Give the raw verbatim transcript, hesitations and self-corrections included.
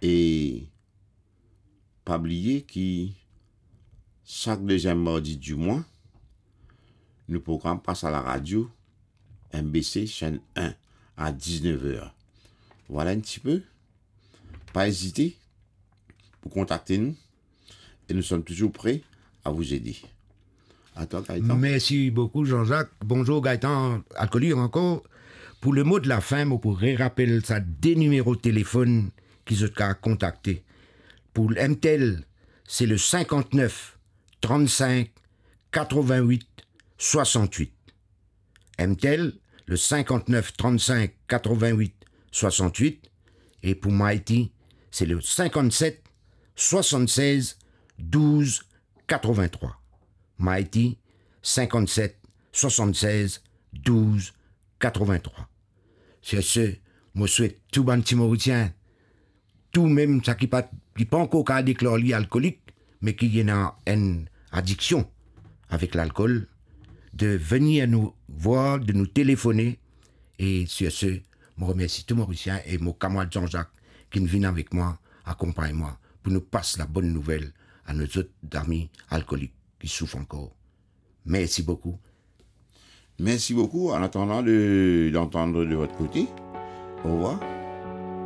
E pa bliye ki sak deziem mardi di mwa, nou program pas a laradio M B C chaîne un à dix-neuf heures. Vwala enn tipe. Pa ezite pou kontakte nou e nou som touzour pre a vous aider. A twa, Gaëtan. Mersi boukou, Jean-Jacques. Bonzour, Gaëtan Alcoolique ankor. Pou le mo de la fin, mo pou rerapel sa de nimero telefonn ki zot kav kontakte. Pou M T L, se le cinquante-neuf trente-cinq quatre-vingt-huit soixante-huit. M T L, le cinquante-neuf trente-cinq quatre-vingt-huit soixante-huit, e pou Mighty, se le cinquante-sept soixante-seize douze quatre-vingt-trois. Mighty, cinquante-sept soixante-seize douze quatre-vingt-trois. Sur ce, mo swet tou bann ti Morisien, tou mem sa ki pa, ki pa ankor kav deklar li alkolik, me ki ena enn adiksion avek lalkol, de venir nou vwar, de nou telefone. E sur ce, mo remersi tou Morisien e mo kamarad Jean-Jacques ki vinn avek mwa, akonpagn mwa, pou nou pas la bonn nouvel a nou zot zami alkolik ki soufrir ankor. Mersi boukou. Merci beaucoup. En attendant de, d'entendre de votre côté, au revoir.